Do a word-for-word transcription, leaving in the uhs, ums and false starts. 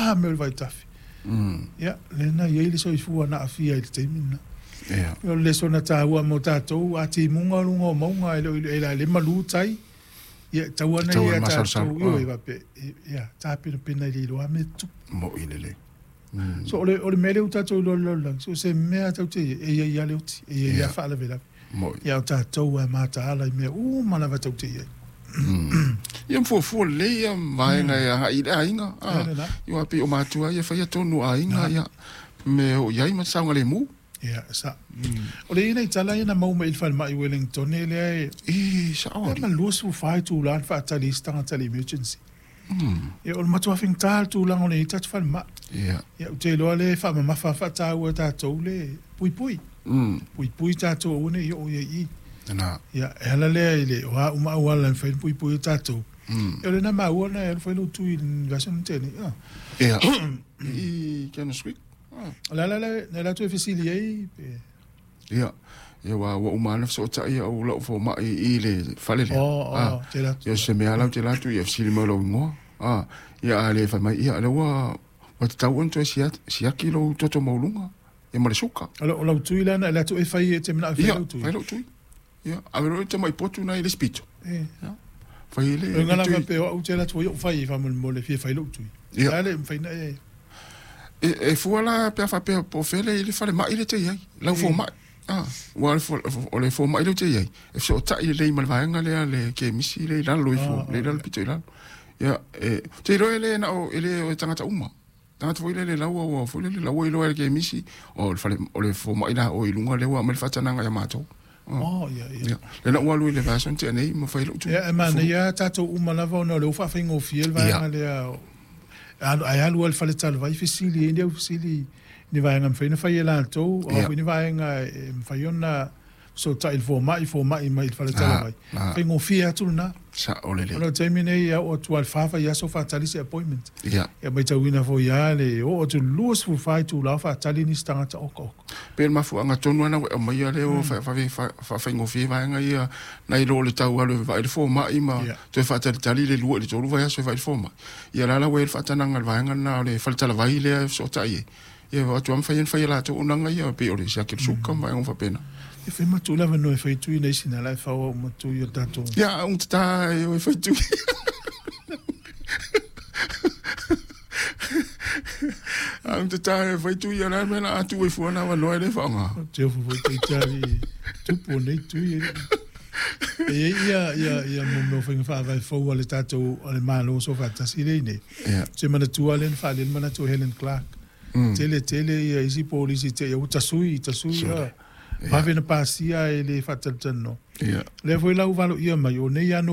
ta mai o le vaitafe. Ia, lena e i ai le soifua na aafia i le taimi lena. Ia. O le lesona taua mo tatou, a timuga o luga o mauga e le o e la le malu tai, ia, e tatau lava ona Tatau ia ona masalosalo. tatou, ioe, faapea, ia, tapenapena i le iloa mea e tutupu. Mo'i lelei. So o le, o le mea lea ua tatou iloa i le lalolagi, so o se mea tatou te i ai, e i ai lava le oti, e i ai Ia. lava faalavelave. Mo'i. Ia, o tatou lava e mataala i mea uma lava tatou te i ai. Ia ma fuafua lelei ia vaega e agai i le aiga. Ia, lena. Ia pei o matua ia faia tonu o aiga ia me o i ai ma saogalemu. Ia, sa. O le i ai nai tala ia na maua mai i le falemai i Wellington lea e E sao e ali. ma luasefulu fa itula na faatali ai se tagata i le emergency. Ia, o le matua faigata le tulaga o lenei tatou falemai. Ia. Ia, ou te iloa lea e faamamafa faataua e tatou le puipui. Mm. Puipui tatou aua ne i oo i ai i. Na. Ia, e ala lea i le o a uma auala e mafai ona puipui ai tatou. Mm. Ia, o lena maua na e alu fai lou tui i le vaiaso na tea nei. Ah. Ia. I Candles Creek. Ah. O le ala lea na latou e fesili ai pe Ia. Ia ua ua uma lava fesootai au lau fomai i le fale lea. Oh, oh, Ah. te latou. Ia se mea lau te latu ia fesili mai lou igoa. Ah. Ia a le fai mai ia lea ua ua tatau ona toe siaki lou toto maualuga. Ia ma le suka. O lau tui la na latou e fai e te manao e fai Ia, lau tui. fai lou tui. Ia, ave loa le tamai potu na i le spito. E. Ia. Fai le O ngala le tui. faapea o au te latou ai ou fai e faamolemole fia fai lou tui. Ia. A le mafai na e. E, e fua la pe a faapea po o fea le i le falemai le te i ai. Lau fomai. Ah, ua le fo- o le fomai lea ou te i ai. E fesootai lelei ma le vaega lea le kemisi le i lalo ifo, le i lalo pito i lalo. Ia, e, te iloa e le na o, e le o e tagata uma. Tagata foi lele laua ua foi lele laua iloa e le kemisi, o le fale, o le fomai la o i luga lea ua aumai le faatanaga ia matou. Ah. Oh, ia, ia. Ia, lena ua alu i le vaiaso na tea nei ma fai lou tui. Ia, e manaia tatou uma lava ona o lea ua faafaigofie le vaega lea. Alu, ai alu ai le fale talavai fesili ai ni au fesili ni vaega e mafai ona fai e latou, o Ia. foi ni vaega e mafai ona fesootai i le fomai, fomai mai i le fale talavai. Ah, ah. Faigofie atu lena. Sao lelei. O le taimi nei ia oo atu lava i le fa vaiaso faatali se appointment. Ia. Ia matauina foi lava le oo atu i le luasefulu fa itula o faatali nisi tagata okaoka. Pe le mafuaaga tonu lava ua e aumaia lea ua faafaigofie vaega ia nai lo le tau alu e vaai le fomai ma Ia. toe faatalitali le lua i le tolu vaiaso e vaai le fomai. Ia la la ua i ai le faatanaga i le vaega lena o le faletalavai lea e fesootai ai. Ia o atu lava mafai ona fai e latou auaunaga ia pei o le siaki o le suka ma vaega uma faapena. E fai matu le avanoa e fai tui nei sina la e fau au matu i o tatou. Ia, augatata e o e fai tui. Augatata e fai tui ia la mea la a tuu ai fua na avanoa e le faaaoga. Te ofu foi te tari tupu o nei tui e. E i ai ia, ia, ia mo mea o faiga faavae fou a le tatou a le Malo so faatasi lea i nei. Ia. Se manatua lea na faalele manatu o Helen Clark. Mm. Tele tele ia isi polisi te ia ua tasui, tasui Sure. ia. Vave na pasia e le faatalatalanoa. Ia. Lea foi la ua valoia mai o nei ano